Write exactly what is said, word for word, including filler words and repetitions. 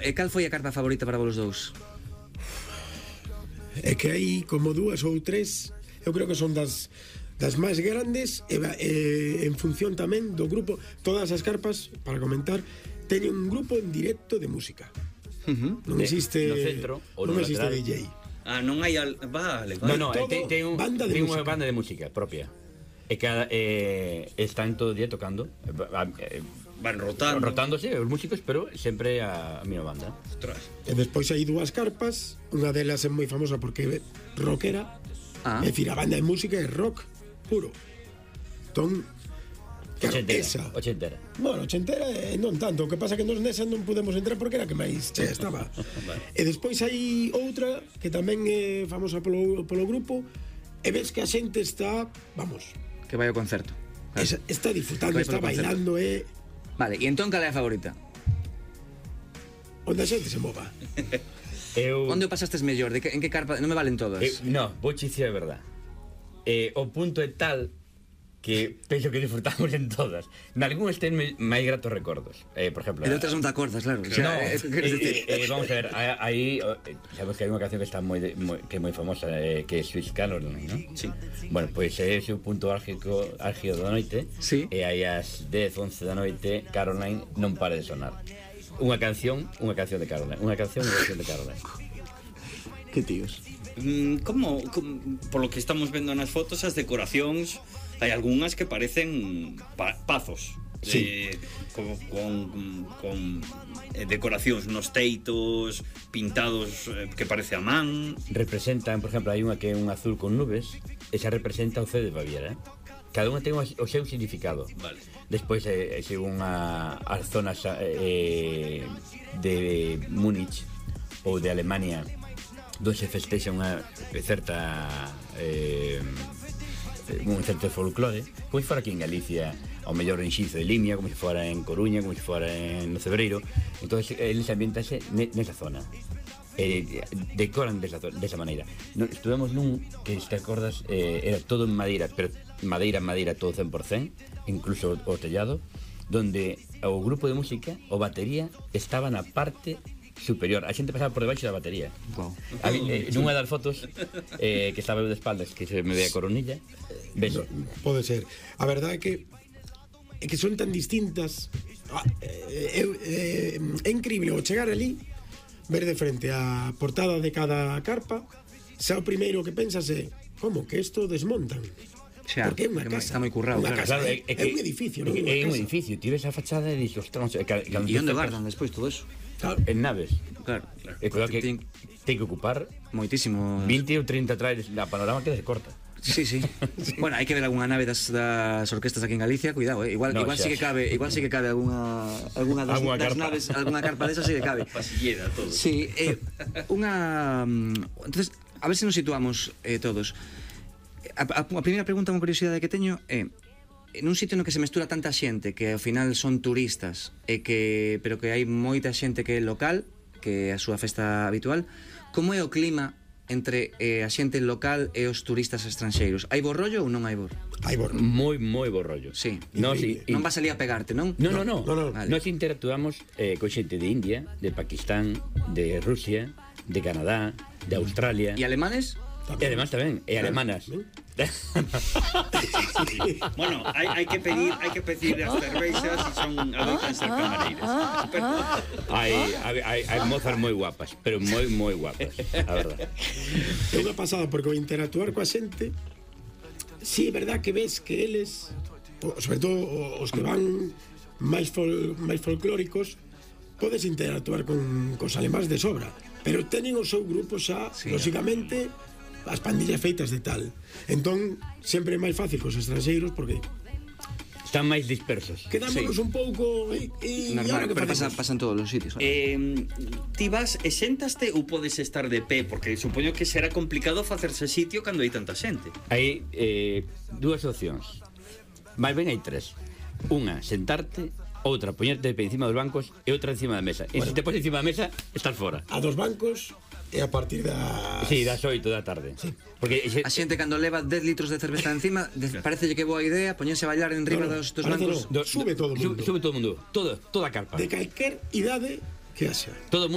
E cal foi a carpa favorita para vos dous? É que hai como dúas ou tres, eu creo que son das das máis grandes e, e en función tamén do grupo. Todas as carpas, para comentar, teñen un grupo en directo de música. Uh-huh. Non existe no centro ou non no existe lateral. D J. Ah, non hai... Al... Vale, vale. No, no, ten, ten, un, banda de ten unha música. banda de música propia. E cada eh, están todo o día tocando, eh, Van rotando. rotándose os músicos, pero sempre a, a mesma banda. Ostras. E despois hai dúas carpas, unha delas é moi famosa porque é rockera. Ah. É dicir, a banda de música é rock puro. Entón, claro, Ochentera, esa. ochentera. Bueno, ochentera eh, non tanto. O que pasa que nos nesa non podemos entrar porque era que máis che estaba. Vale. E despois hai outra que tamén é famosa polo, polo grupo. E ves que a xente está, vamos, Que vai ao concerto. Claro. esa, está disfrutando, Vai está polo concerto. bailando, e Vale, e entón cal é a favorita? onde a xente se mova. Eu, Onde o pasastes mellor? De que, en que carpa? Non me valen todas. eu, no, vou che dicir a verdad. Eh, o punto é tal que penso que disfrutamos en todas. Nalgúnas ten máis gratos recordos. Eh, por exemplo, E de outras non te acordas, claro. O sea, no, eh, eh, queres decir... eh, eh, vamos a ver, aí eh, sabemos que hai unha canción que está moi, de, moi que é moi famosa, eh, que é Sweet Caroline, ¿no? Sí. Bueno, pois é ese o punto álgico álgido da noite. Sí. E aí ás dez, once da noite Caroline non para de sonar. Unha canción, unha canción de Caroline, unha canción, unha canción de Caroline. Que tíos. Mm, como, como por lo que estamos vendo nas fotos, as decoracións hai algunhas que parecen pa pazos. Sí. Eh, con, con, con eh, decoracións nos teitos, pintados eh, que parece a man. Representan, por exemplo, hai unha que é un azul con nubes, esa representa o C de Baviera, eh? Cada unha ten o seu significado. Vale. Despois, eh, según a, as zonas eh, de Múnich ou de Alemania, donde se festexa unha certa eh, un certo folclore, como se fora aquí en Galicia, ao mellor en Xizo de Limia, como se fora en Coruña, como se fora en no Cebreiro. Entón, eles ambientase nesa zona, eh, decoran desa, desa maneira. No, estuvemos nun que, se te acordas, eh, era todo en madeira, pero madeira, madeira, todo cen por cen, incluso o tellado, donde o grupo de música, o batería, estaba na parte superior. A xente pasaba por debaixo da batería. Wow. A mí, eh, nunha das fotos eh, que estaba eu de espaldas, que se me ve a coronilla, ves, No, pode ser. A verdade é que é que son tan distintas. Ah, é, é, é increíble o chegar ali, ver de frente a portada de cada carpa, xa o primeiro que pensas é como que isto desmontan. Xa, Porque é unha porque casa. está moi currado, Unha claro. casa, claro, é, é, é un edificio, non é, é é unha un casa. edificio, ti ves a fachada e dixes, ostras, e E onde guardan despois todo eso? Claro. en naves. Claro. E cuidado que Ten ten que ocupar moitísimo... vinte ou trinta trailers, a panorama queda corta. Sí, sí. Bueno, hai que ver algunha nave das, das orquestas aquí en Galicia, cuidado, eh. Igual, No, igual xa, sí que xa. cabe, igual sí que cabe algunha algunha das, Alguna das carpa. naves, algunha carpa desa sí que cabe. Pasillera, todo. Sí, eh, unha mm, entonces, a ver se nos situamos eh, todos. A, a, a primeira pregunta, unha curiosidade que teño é en un sitio no que se mestura tanta xente que ao final son turistas e que pero que hai moita xente que é local, que é a súa festa habitual, como é o clima entre eh, a xente local e os turistas estranxeiros? Hai bo rollo ou non hai bo? Hai borro. Moi, moi bo rollo. Sí. Nos, Increíble. in, Non vas ali a pegarte, non? No, no, no. No, no. Vale. Nos interactuamos eh, con xente de India, de Pakistán, de Rusia, de Canadá, de Australia. E alemanes? E además tamén, e alemanas. Bueno, hai, hai que pedir, hai que pedir as cervexas e son adoitan ser camareiras. Pero, Hai, hai, hai, hai mozas moi guapas, pero moi, moi guapas, a verdad. É unha pasada porque ao interactuar coa xente, si é verdad que ves que eles, o- sobre todo os que van máis fol, máis folclóricos, podes interactuar con cos alemáns de sobra, pero teñen o seu grupo xa, Sí. lógicamente, as pandillas feitas de tal. Entón, sempre é máis fácil cos estranxeiros porque Están máis dispersos. quedámonos Sí. un pouco e, e Normal, ahora que pero pasa, facemos? pasa en todos os sitios. Claro. eh, ti vas e sentaste ou podes estar de pé? Porque supoño que será complicado facerse sitio cando hai tanta xente. Hai eh, dúas opcións. Máis ben hai tres. Unha, sentarte. Outra, poñerte de pé encima dos bancos. E outra encima da mesa. E se te pones encima da mesa, estás fora. A dos bancos e a partir das... Sí, das oito da tarde. Porque xe, A xente cando leva dez litros de cerveza encima, de, parecelle que boa idea poñerse a bailar en riba No, no, dos, dos parece bancos. no. Sube todo o mundo. Sube, sube todo o mundo. Todo, toda a carpa. de calquer idade que haxa. Todo o mundo